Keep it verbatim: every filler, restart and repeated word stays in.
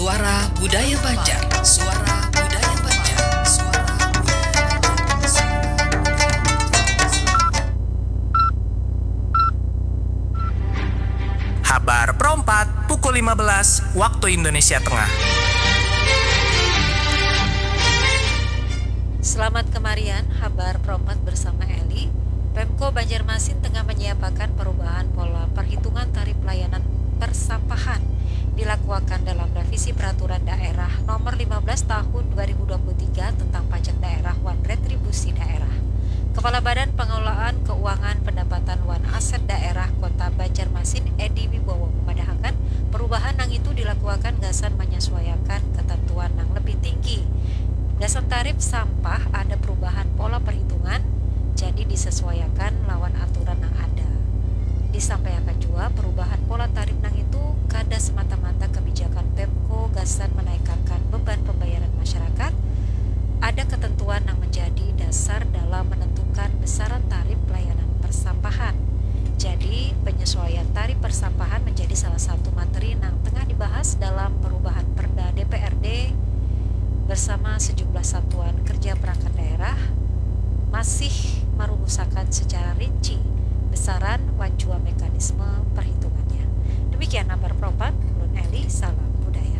Suara Budaya Banjar. Suara Budaya Banjar. Suara Budaya Banjar. Habar perompat pukul lima belas waktu Indonesia Tengah. Selamat kemarian, habar perompat bersama Eli. Pemko Banjarmasin tengah menyiapakan perubahan pola perhitungan tarif layanan persampahan dilakuakan dalam revisi peraturan daerah nomor lima belas tahun dua ribu dua puluh tiga tentang pajak daerah wan retribusi daerah. Kepala Badan Pengelolaan Keuangan Pendapatan wan Aset Daerah Kota Banjarmasin, Edi Wibowo, memadahakan perubahan nang itu dilakuakan gasan menyesuaiakan ketentuan nang lebih tinggi. Gasan tarif sampah ada perubahan pola perhitungan, jadi disesuaiakan lawan aturan nang ada. Disampaiakan jua perubahan pola tarif nang itu kada semata-mata kebijakan Pemko gasan menaikakan beban pembayaran masyarakat, ada ketentuan nang menjadi dasar dalam menentukan besaran tarif pelayanan persampahan. Jadi, penyesuaian tarif persampahan menjadi salah satu materi nang tengah dibahas dalam perubahan Perda D P R D bersama sejumlah satuan kerja perangkat daerah masih merumusakan secara rinci besaran wan jua mekanisme perhitungannya. Demikian habar perompat, ulun Eli, salam budaya.